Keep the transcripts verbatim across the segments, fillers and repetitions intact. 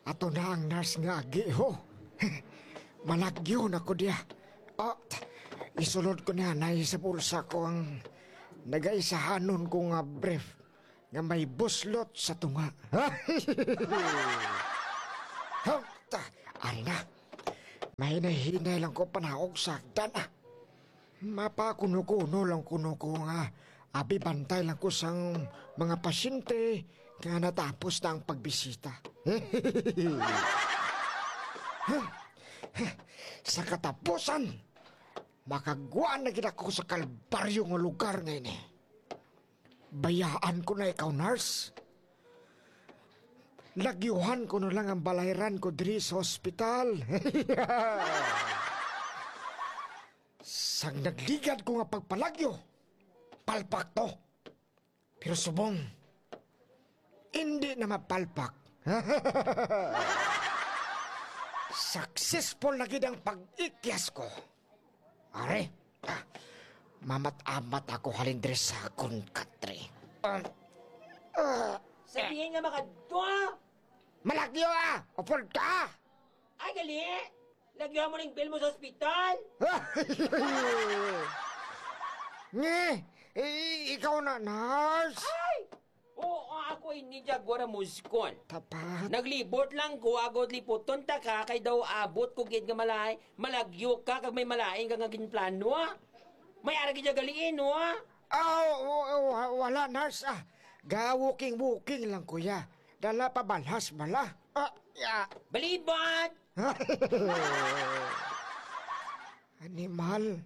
Ato na ang nurse nga agi, ho. Malagyo na ko diya. Oh, isulod ko niya na sa bulsa ko ang nagaisahanon ko nga brief nga may buslot sa tunga. Hop, ta, ari na. Mahinay-hinay lang ko panaog sa hagdan, ah. Mapakuno-kuno lang kuno ko nga abi bantay lang ko sang mga pasyente nga natapos na ang pagbisita. Sa katapusan, makagwa na gid ako sa kalbaryo nga lugar nga ini. Bayaan ko na ikaw, nurse. Lagyuhan ko na lang ang balayran ko diri sa ospital. Sang nagligad ko nga pagpalagyo, palpak to. Pero subong, hindi na mapalpak. Successful na gid ang pag-ikyas ko. Are, ah, mamat-amat ako halin diri sa akon country. Ah, ah, Sa diin nga makadto, ah? Malagyo, ah! Upod ka! Ay, gali! Lagyo mo ning bill mo sa ospital! Nge, i- ikaw na, nurse? Ay! Oo, ako ini, Jaguar Muskon. Tapat. Naglibot lang ko, agod liputon ta ka, kay daw abot ko gid nga malay, malagyo ka, kag may malain ka nga ginplano, ah. May ara gid galiin, no, ah. Ah, wa- wa- wala, nurse, ah. Ga-walking-walking lang, kuya. Dala pa balhas bala. Ah, ya. Balibat! Animal,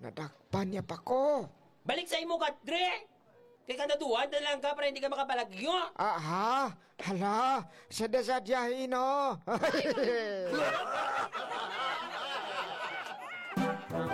nadakpan niya pa ko. Balik sa imo, katre! Kay kanaduhan na lang ka para hindi ka makapalagyo. Aha, hala, sadya-sadya, ino.